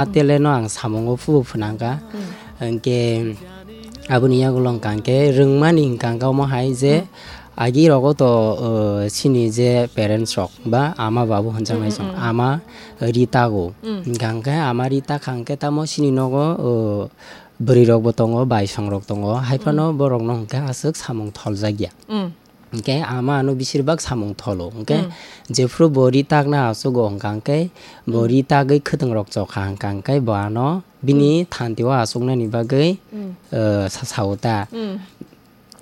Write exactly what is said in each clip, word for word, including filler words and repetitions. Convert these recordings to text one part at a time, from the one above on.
Atele no ang samungo phubo phwnangkha. Hmm. Hwnkhe aboni yagulo hwnkha hwnkhe rwngmani hwnkha hwnkhe omo hai je Hmm. agi rogo to, uh, chini je parents rok ba ama babu hwnjaknai Hmm, hmm, chwng hmm. ama ri tago. Hmm. Hwnkha hwnkhe ama ri takha hwnkhe tamo chini nogo, uh, bwrwi rok bo tongo, baisong rok tongo. Hai phano Hmm. borok no hwnkhe aswk samung tholjak ya. Hmm. Hwnkhe ama ano bisir bak samung tholo. Hwnkhe Hmm. jephru bo ri takna achugo hwnkha hwnkhe bo Hmm. ri tagwi khwtwng rok chokha hwnkha hwnkhe bo ano bini Hmm. thanti o achuknani bagwi, Hmm. eh, sa sao ta. Hmm.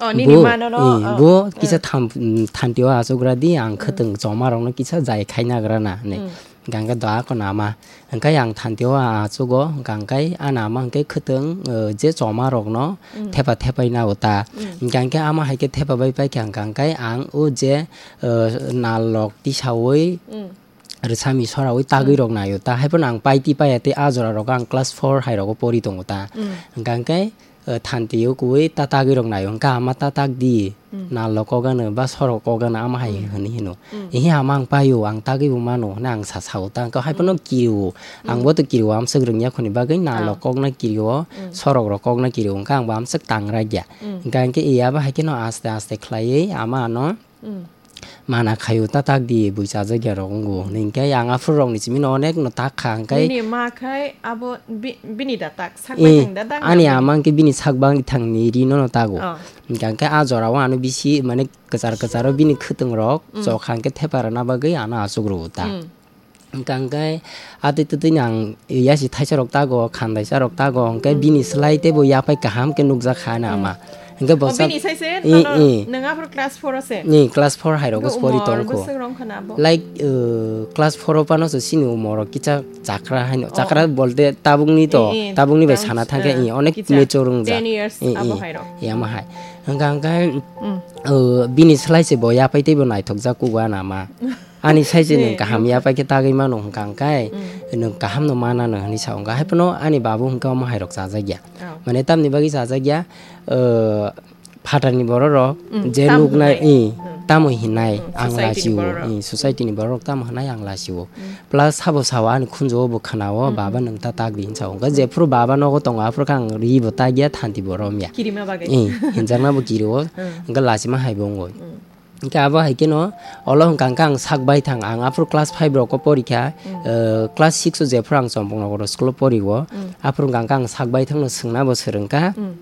Oh, nini Bo, mano no, eh, oh, bo kisa eh. tham-, mm, thanti o achugra di ang Hmm. khwtwng choma rok no kisa jai khai nagra na hinwi. Hmm. Hwnkha hwnkhe doa kono ama. Hwnkhe ang thanti o achugo, hwnkha hwnkhe ani ama hwnkhe khwtwng, eh, je choma rok no Hmm. thepa thepai na o ta. Hmm. Hwnkha hwnkhe ama hai khe thepa bai paikha hwnkha hwnkhe ang o je, eh, nal rok tisaui Hmm. rwsami soraui tagwi Hmm. rok nai o ta. Hai phano ang paiti paiya tei a jora rogo ang class four hai rogo pori tongo ta. Hmm. Hwnkha hwnkhe, eh, thanti o kuui ta tagwi rok nai o. Hwnkha ama ta tak di. Hmm. Nal rok kok ano ba sorok kok ano ama hai Hmm. hwnwi hino. Hmm. Ehe ama ang paio, ang tagwi bo mano hwnwi ang sa sao ta. Hwnkha hai phano Hmm. kirio. Ang Hmm. bo to kirio, amswk rwngya khoni bagwi nal Ah. rok kokna kirio, Hmm. sorok rok kokna kirio. Hwnkha ang bo amswk tangra ya. Hmm. Hwnkha hwnkhe iya ba hai kheno aste aste khlaiwi ama ano Hmm. mana khaio ta tak di bui chajak ya rok wngo. Hwnkhe ang aphuru rokni simi no onek no tak kha hwnkhe Nini ma khai abo bi-, bini da tak sak Eh, bai thang da dang ani nang ama hwnkhe bini sak bang thangni ri no no tago. Oh. Hwnkha hwnkhe a jora o ano bisi mane kwchar kwcharo bini khwtwng rok Mm. chokha hwnkhe thepa rwna bagwi ano achuk rwo ta. Mm. Hwnkha hwnkhe atwi twtwi no ang yasi thaisa rok tago, khandaisa rok tago, hwnkhe Mm. bini slai teibo yaphai kaham khe nukjak kha ano Mm. ama. Hwnkhe O, bosa bini sai se, I, nono, i. Nwng aphuru class four o se? Ni class four hai rogo Hwnkhe pori umor tongkho. Bwswk rok wngkha na abo? Like, uh, class four o phano se chini umor o kisa chakra haino, Oh, chakra oh. Bolte tabukni to, I, i, tabukni bai tang-, sana thangkhe, uh, i, onek kisa mature wngjak. Ten years I, abo i, hai rok. I, ama hai. Hwnkha hwnkhe, Mm. uh, bini slai se bo yaphai teibo naithokjak kugo ano ama. Ani size Ni, nwng kaham nukha. Yaphai khe tagwi mano hwnkha hwnkhe, Mm. nwng kaham no mana no hwnwi sa hwnkha. Hai phano ani babu hwnkhe omo hai rok chajak ya. Oh. Mane tamni bagwi chajak ya, uh, phatarni borok rok Mm, je tamo nuknai, hwnai. I, Mm. Tamo hinai, Mm, ang society ni lachio, borok rok. I, society ni borok rok tamo hinai ang lachio. Mm. Plus sabo sao ani khunju o bo khwnao, Mm. Baba nwng ta tak di hinsa hwnkha. Mm. Jephuru baba nogo tongo, aphuru khe ang ri bo tak ya, thanti bo rom ya. Kirima bagwi. I, hinjakna bo kiri o, Mm. hwnkha lachima hai bo wngo. Mm. Hwnkhe abo hai kheno, olo hwnkha hwnkhe ang sak bai thang, ang aphuru class five rok o pori kha, Mm. uh, class six o jephuru ang Chompong Nogoro school o pori o, Mm. aphuru hwnkha hwnkhe ang sak bai thang no swngna bo swrwng kha. Mm.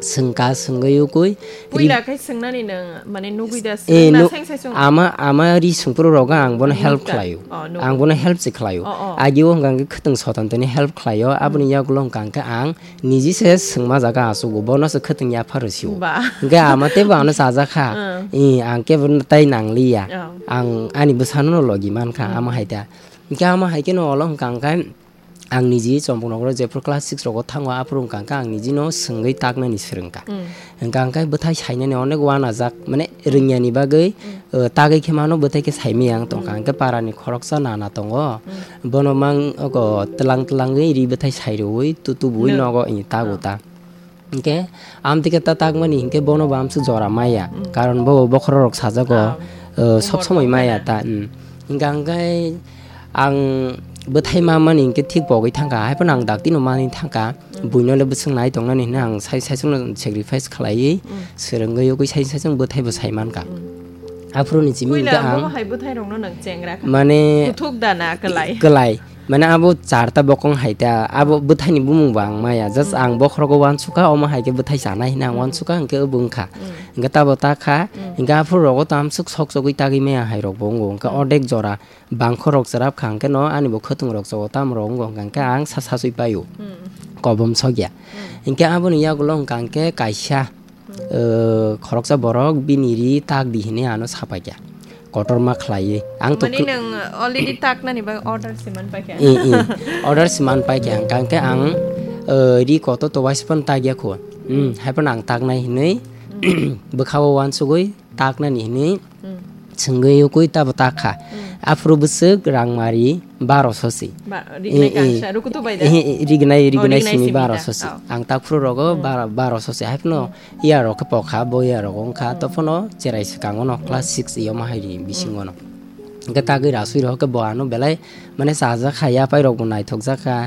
Swngkha, swngwi ukui. Puila khe swngnani nwng, mane, nugwi da Eh, swrwngna nu-, seng sai song? Ama, ama ri sungpru rogo ang bono help Nukta. Khlaio. Oh, nugo. Ang bono help se khlaio. Oh, oh. Agi o hwnkha hwnkhe khwtwng soton toni help khlaio. Aboni Mm. Yagulo hwnkha hwnkhe ang niji se swngma jaga achugo. Bono se khwtwng yapharo sio. Ba. Hwnkhe ama teibo ano chajak kha. Mm. I, ang kebo tai nangliya. Oh. Ang ani bwsano no logi mankha, Mm. Ama hai da. Hwnkhe ama hai kheno olo hwnkha hwnkhe ang niji Chompong Nogoro jephuru class six rogo thango, aphuru hwnkha hwnkhe ang nijino swngwi taknani swrwngkha. Mm. Hwnkha hwnkhe bwthai sainani onek uanajak, mane Mm. rwngyani bagwi, Mm. uh, tagwi khe mano bwthai khe saimaya ang tongkha. Mm. Hwnkhe parani khoroksa nana tongo, Mm. bono mang oko twlang twlangwi ri bwthai sairwui tu-, tubui Nwng. Nogo i tago Oh. Ta. Hwnkhe amtwi khe ta takmani hwnkhe bono bo amswk jora maya. Mm. Karon bo bokhorok rok sajago, Ah, uh, sob umor somoi maya tongmani. Ta, mm. Hwnkha hwnkhe ang bwthai mamani hwnkhe thik pogwi thangkha, hai phano ang dakti no manwi thangkha. Mm. Buino le bwswk nai tongnani hwnwi ang sai, sai songno sacrifice khlaiwi Mm. swrwngwi ugwi sai, sai song bwthai bo sai mankha. Mm. Aphuru ni simi Puila hwnkhe ang bobo hai bwthai rokno nwng chengra kha. Mane Kuthuk da na kwlai? Kwlai. Mane abo charta bokong hai ta, abo bwthaini bumung bo ang maya, just Mm. ang bokhorogo uansukha, omo hai khe bwthai chanai hwnwi ang Mm. Uansukha, hwnkhe obo wngkha. Mm. Hwnkhe tabo ta kha, Mm. hwnkhe aphuru rogo to amswk sok sogwi tagwi maya hai rok bo wngo, hwnkhe Mm. Ordek jora bangkhorok chwrap kha, hwnkhe no ani bo khwtwng rok chogo tamo rok wngo, hwnkhe ang sa sasui paio. Mm. Kobom sokya. Mm. Hwnkhe aboni yagulo hwnkha hwnkhe kaisa, eh, khoroksa borok bini ri tak di hinwi ano sapaikha, kotorma khlaiwi. Ang to Mani kl- nwng already taknani bagwi order se man paikha? I, i. Order se man paikha, hwnkha hwnkhe ang, eh, ri kotor to waisa phano takya kho. Hmm, hai phano ang taknai hinwi Hmm. bwkha-o uansugwi taknani hinwi Hmm. swngwi ukui tabo takha. Hmm. Aphuru bwswk rangmari baroso se. Ba, rignai I, i. Kangsa, rukutu bai da? Eh, eh, rignai, Oh, rignai rignai simi simi da. Baroso se. Oh. Ang takphuru rogo Hmm. bara-, baroso se. Hai phano Hmm. Iya rok khe pokha, bo iya rok wngkha. Hmm. Tophano cherai swkango no class Hmm. six iyo ma hai ri bisingo Hmm. No. Hwnkhe tagwi rasui rw khe bo ano belai mane chajak kha, yapai rok bo naithok jak kha.